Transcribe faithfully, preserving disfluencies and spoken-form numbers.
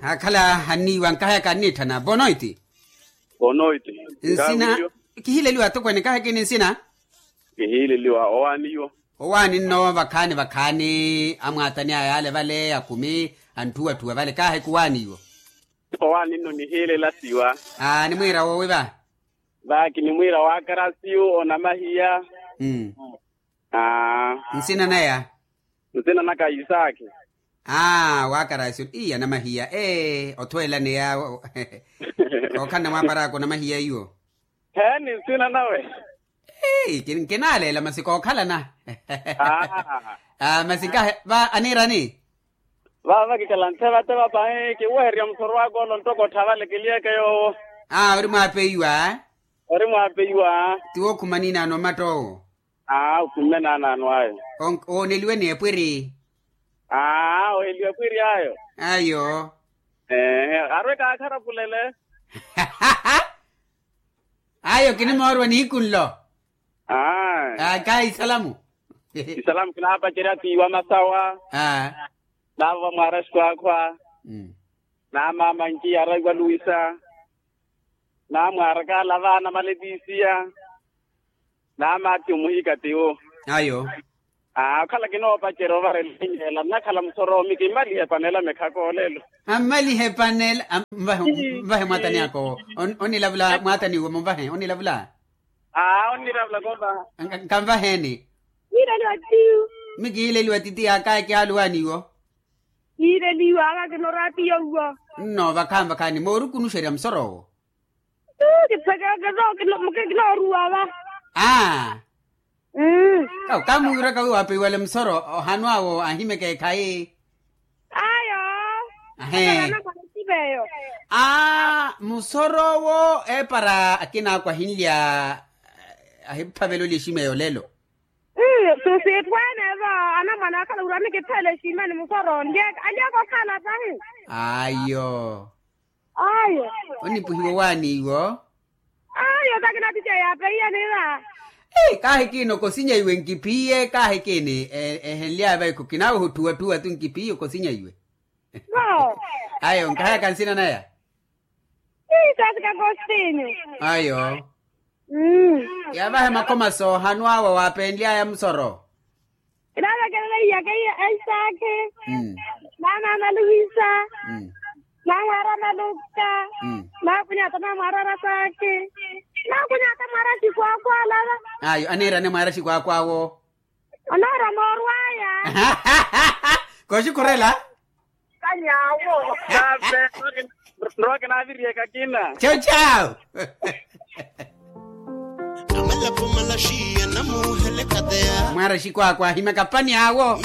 Akhala anniiwa nkahayaka anniitthana bonoiti. Bonoiti. Nsina. Kihileliwa atokweene kahayaka ini nsina. Kihileliwa owaaniwa. Owaani nno vakhaani vakhaani amwaatani a yaale vale akumi antthuwatthuwa vale kahayaka owaaniwa. Owaani nno nihiilela siwa. Aa nimwiira woowi va. Vaaki nimwiira waakarasiyu onamahiya. Aa. Nsina naya. Nsina naka isaaki. Aa waakarasiyu iya namahiya ee othweelani ya. Ookhalana mwaaparaaka onamahiya iwo. Heeni nsina nawe. Kinaleela masi kookhalana. Masi nkahe va aniirani. Vaava kikhala ntheva-theva pahi kiwehererya musoro waka ole onttoko ottha vale kiliyeke yoowo. Aa ori mwaapeiwa. Ori mwaapeiwa. Ti wookhuma niinaano omatta owo. Aa okhumme naanaano ayo. Ooneliwe ni epwiri. Aa ooneliwe epwiri ayo. Ayo. Eehe arwe kaakharapulele. Ayo kinimoorwa nihiku nlo. Aa kahi isalamu. Isalamu kinaapacerya tiiwa masawa. Aa. Naavo vamwaara xikwakhwa. Naamaama nci yaara iwa luwisa. Naamwaara kaalava anamaletisiya. Naamaathi omuhika tiwo. Ayo. Aa okhala kinoopacerya ovarela enyeela nnakhala musoromi kimmalihe epanela mekhaka olelo. Ammalihe epanela. Mvahe mwaatani aka owo. Onilavula mwaatani iwe munvahe onilavula. Aa onilavula konvaha. Kanvaheeni. Yiireliwa tiyo. Mikiileliwa titiya kahi kihaaluwaani iwo. Yiireliwa aka kinoraatiyo iwo. Nno vakhaani vakhaani moorukunuxerya musoro owo. Kipheke kinooruwa va. Aa. Kamuwiiraka wi waapeiwale musoro ohanu awo ahimeke ekhayi. Ayo. Ahee. Aa musoro owo eepara akina akwa ahinlya. Ahiphavela olya eximeya olelo. Sitweene va anamwane akhala wira nikiphela eximeni musoro nlyeeka alyaka okhala tahi. Ayo. Ayo. Onipuhiwa owaani iwo. Ayo takinatitya yaapeiye niira. Kaahikini okosinya iwe nkiphiye kaahikini ehenlyaya vaiko kinaawe otthuwatthuwa tu nkiphiye okosinya iwe. Ayo nkahayaka nsina naya. Ayo. Yaavahe makhoma soohanu awe waapenlyaya musoro. Kinaavekelela iyake iya aisaki. Naamaama luwisa. Naamwaara maluka. Naakunyata naamwaara rasaki. Naakunyata mwaara xikwaakwaalala. Ayo aniirane mwaara xikwaakwaawo. Onoorwa moorwaya. Koxikhurela. Kanyaawo. Nrowa kinaaviriye kakina. Chao chao. Amalapo malaxiya namuhele kateya. Mwaara xikwakwa ahimaka pani awo.